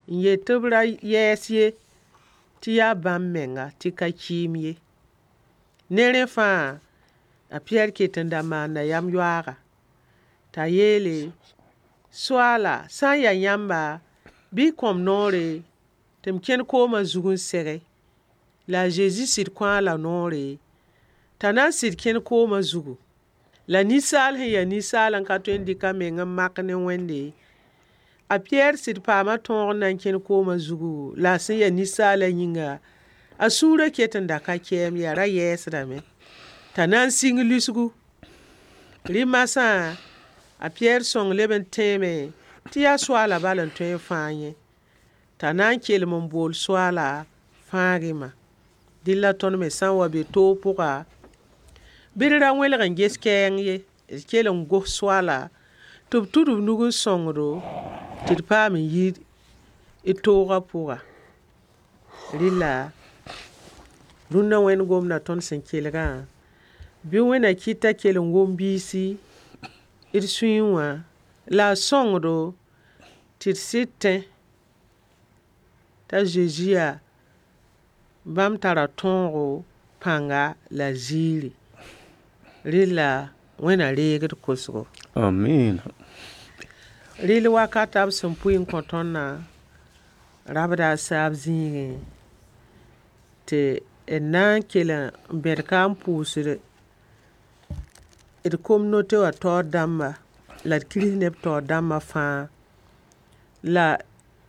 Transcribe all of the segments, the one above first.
N yet tɩ b ra yɛɛs ye tɩ yaa bãmb menga tɩ ka kɩɩm ye. Ne rẽ fãa, a Piyɛr ket n da maanda yam yoaaga. T'a yeele, Soaala, sã n ya yãmba, bɩ y kõ-m noore tɩ m kẽn koomã zug n sege. La a Zezi sɩd kõ-a la noore, t'a na n sɩd kẽn koomã zugu. La ninsaal sẽn ya ninsaal n ka tõe n dɩk a meng n mak ne Wẽnde, a Piyɛr sɩd paama tõog n na n kẽn koomã zugu, la a sẽn ya ninsaalã yĩnga, a sũurã ket n da ka kɛɛm ye, a ra yɛɛsdame t'a na n sɩng lisgu. Rɩ masã, a Piyɛr sõng leb n tẽeme tɩ yaa Soaala bal n tõe n fãag yẽ. T'a na n kelem n bool Soaala, fãag-y-ma. Dɩl la tõnd me sã n wa be toog pʋga, bɩ d ra wẽlg n ges kɛɛng ye, d kell n gos Soaala tɩ b tud b nug n sõngdo tɩ d paam n yi d toogã pʋga. Rɩla rũnnã Wẽnd gomda tõnd sẽn kelgã, bɩ Wẽnna kɩt t'a kell n wom biisi d sũyẽ wã la a sõngdo tɩ d sɩd tẽ t'a Zezi yaa bãmb tara tõogo, pãnga la ziiri. Rɩla Wẽnna reeg d kosgo. Amiina. Rɩl wakata b sẽn pʋɩ n kõ tõndã rabda a saab zĩigẽ tɩ d na n kell n bẽd ka n pʋʋsd d communauté wã taoor dãmba la d kirist neb taoor dãmbã fãa la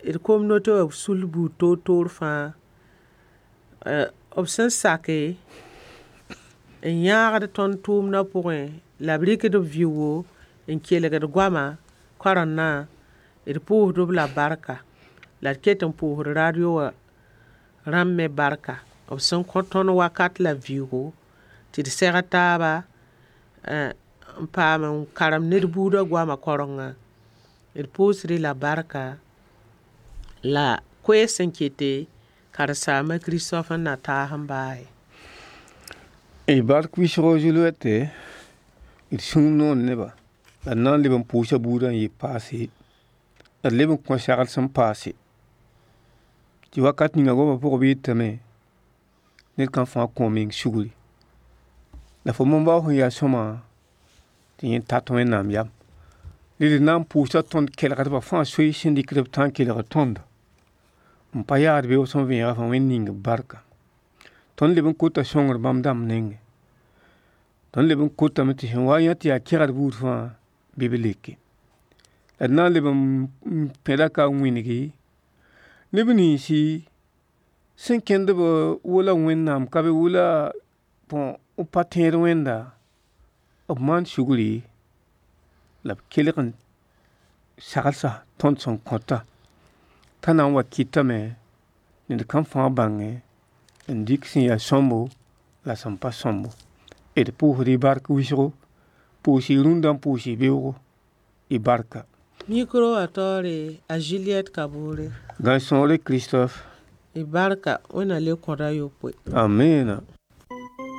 d communauté wã sul buud toor-toor fãa b sẽn sake n yãagd tõnd tʋʋmdã pʋgẽ la b rɩkd b vɩʋʋgo n kelgd goama karendã d pʋʋsd-b la barka la d ket n pʋʋsd radio wã rãmb me barka b sẽn kõ tõnd wakat la vɩʋʋgo tɩ d seg taaba n paam n karem ned buudã goamã kaorengã. D pʋʋsd-y la barka la koees sẽn kete karen-saamba Christophe n na taas n baase. Y bark wɩsgo Juliette d sũur noor neba la d na n leb n pʋʋsa buudã n yɩ paase la d leb n kõ sagl sẽn paase tɩ wakat ninga goamã pʋgã b yetame ned kam fãa kõ meng sugri la fo moon-bao sẽn yaa sõma tɩ yẽ tat Wẽnnaam yam rẽ d na n pʋʋsa tõnd kelgdbã fãa soees sẽn dɩkd b tã n kelgd tõndo n pa yaad beoog sẽn vẽega fãa Wẽnd ning b barka. Tõnd leb n kota sõngr bãmb dãmb nengẽ. Tõnd leb n kotame tɩ sẽn wa yã tɩ yaa kegd buud fãa bɩ b leke. La d na n leb n pẽda ka n wĩngi neb ninsi sẽn kẽnd b wala Wẽnnaam ka be wala bõ b pa tẽed Wẽnda b maan sugri la b kelg n saglsa tõnd sẽn kõta t'a na n wa kɩtame ned kam fãa bãnge n dɩk sẽn yaa sõmbo la sẽn pa sõmbo. D pʋʋsd y bark wɩsgo, pʋʋs y rũndã n pʋʋs y beoogo y barka. Micro wã taoore a Juliette Kabore. Gãe-sõore Christophe. Y barka Wẽnna le kõda yopoe. Amiina.